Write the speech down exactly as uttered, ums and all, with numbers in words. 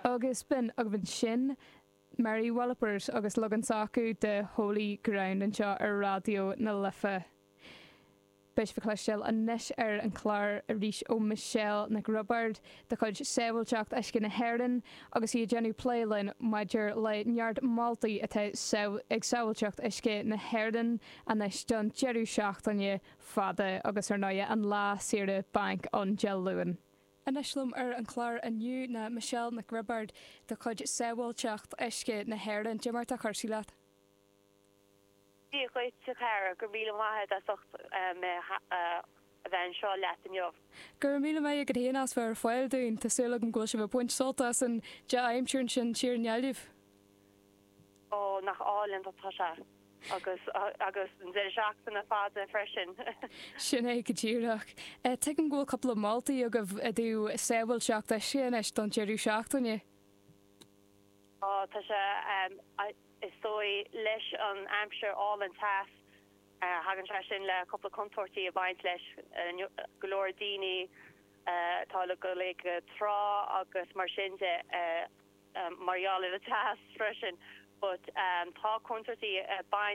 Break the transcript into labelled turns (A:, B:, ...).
A: Agus b'in agaibh ansin Mary Wallopers agus leagan s'acu de Holy Ground anseo ar Raidió na Life. Beidh sibh ag cloisteáil anois ar an chlár arís ó Michelle Nic Roibeaird de chuid Sábháilteacht Uisce na hÉireann agus í ag déanamh plé linn maidir le neart moltaí atá ag Sábháilteacht Uisce na hÉireann anois don deireadh seachtaine fada agus ar ndóigh an lá saoire bainc an Dé Luain. Anois liom ar an chlár inniu ná Michelle Nic Roibeaird de chuid Sábháilteacht Uisce na hÉireann. Cad é mar atá cúrsaí leat.
B: Dia dhuit a chara, go raibh míle maith agat as ucht mé a bheith anseo leat inniu.
A: Go raibh míle maith agat féin as bheith ar fáil dúinn, tá súil agam go bhfuil sibh ag baint sult as an dea-aimsir ansin siar i nGaillimh.
B: Ó, nach álainn atá sé. Agus agus an deireadh seachtaine fada freisin.
A: Sin é go díreach. Tuigim go bhfuil cúpla moltaí agaibh i dtaobh sábháilteacht uisce anois don deireadh seachtaine.
B: Á, tá sé, is dóigh, leis an aimsir álainn teas, thagann sé sin le cúpla contúirtí ag baint leis. Go leor daoine atá le dul ag trá agus mar sin de, mar gheall ar an teas freisin. But tá contúirtí ag baint